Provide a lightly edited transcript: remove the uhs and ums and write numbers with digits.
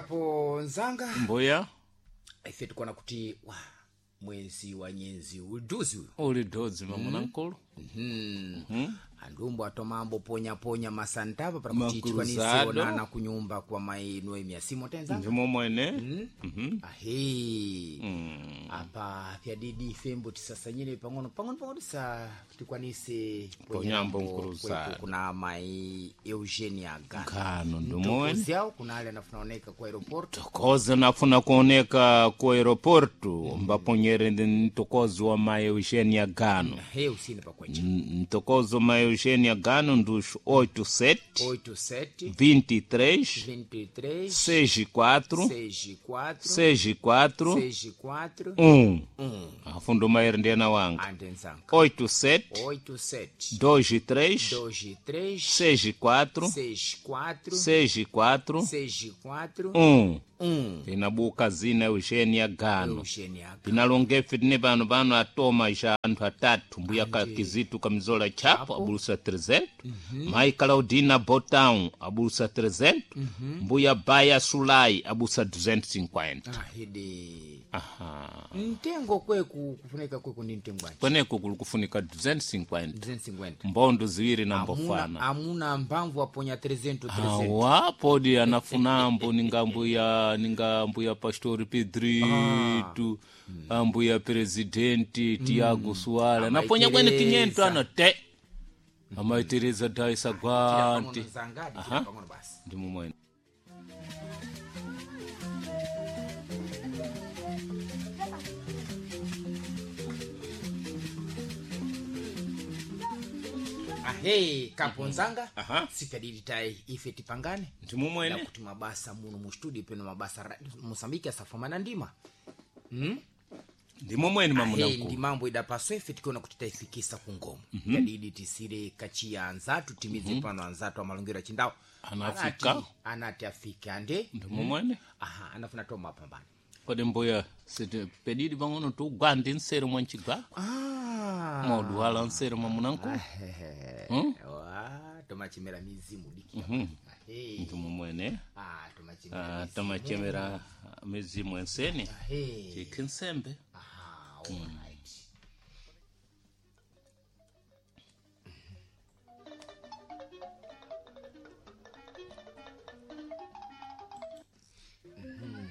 Kapo nzanga Mbuya ife tikuona kuti wa mwezi wa nyenzi uduzi uyu uli dodzi mamuna nkulu. Andumbo atomambo ponyaponya masantava para kuti tikwanise Makruzado. onana kunyumba kwa mai Noemia Simo tenzanga. Ndimo mwene. Ahe, apa pyadidi ifembo tisasanyire pang'ono pang'ono pang'ono tisa tikwanise Ponyambo nkuruzado. kweku kuna mai Eugenia Gano Gano ndimo mwene. yawo kuna ale anafunaoneka ku aeroporto. Tokoze nafuna kuoneka ku aeroporto mbaponyere ndi mtokozi wa mai Eugenia Gano. He, usine pakwenja. Mtokozi wa mai Eugenia Gano ndos 87 87 23 23 64 64 64 64 1. 1. Afundo maere ndena wanga. Andenzanga. 87 87 23 23 64 64 64 64 1. 1. Tinabuka zina Eugenia Gano. Eugenia Gano. Tinalongefe tine pano pano atoma ja anthu atatu mbuya ka kizitu kamizola chapo abulusa 300, mai Claudina Botown abulusa 300, mbuya Baya Sulai abusa 250. Ahidi. Aha. Mtengo kweku kufunika kweku ndi mtengo wanji? Kweneko kuli kufunika 250. 250. Mbondo ziwiri na Amuna, mbofana. amuna mphamvu aponya 300 300. Awa podi anafunambo ninga mbuya, ninga mbuya pastori Pedrito, ambuya presidenti Tiago Suara naponya kwene Amaitereza. 500 ana te amaitereza daisa gwanti. Pang'ono zangadi chira pang'ono basi. Ndimo mwene. Ahe, kapo nzanga. Aha. Sifyadidi tai ife tipangane Ndimo mwene. kuti mabasa muno mu studio peno mabasa Mosambiki asafamana ndima. Ndimo mwene mamuna Ahe, mkulu. ndi mambo idapaswa ife tikiona kuti taifikisa ku ngomo. Yadidi tisire kachiya anzatu timize pano anzatu amalongero achindawo. Anafika. Anati afike ande. Ndimo mwene. Aha, anafuna toma pambana. Kodi mbuya siti pedidi pang'ono tugwandi nseri mwa nchigwako. Ah. Mauduwala nseri mwamuna mkulu. Wa, tomachemera mizimu diki. Ahe. Ndimo mwene. Ah, tomachemera. Ah, tamachemera mizimu enseni. Ahe. Chikhinsembe. Aha, alright.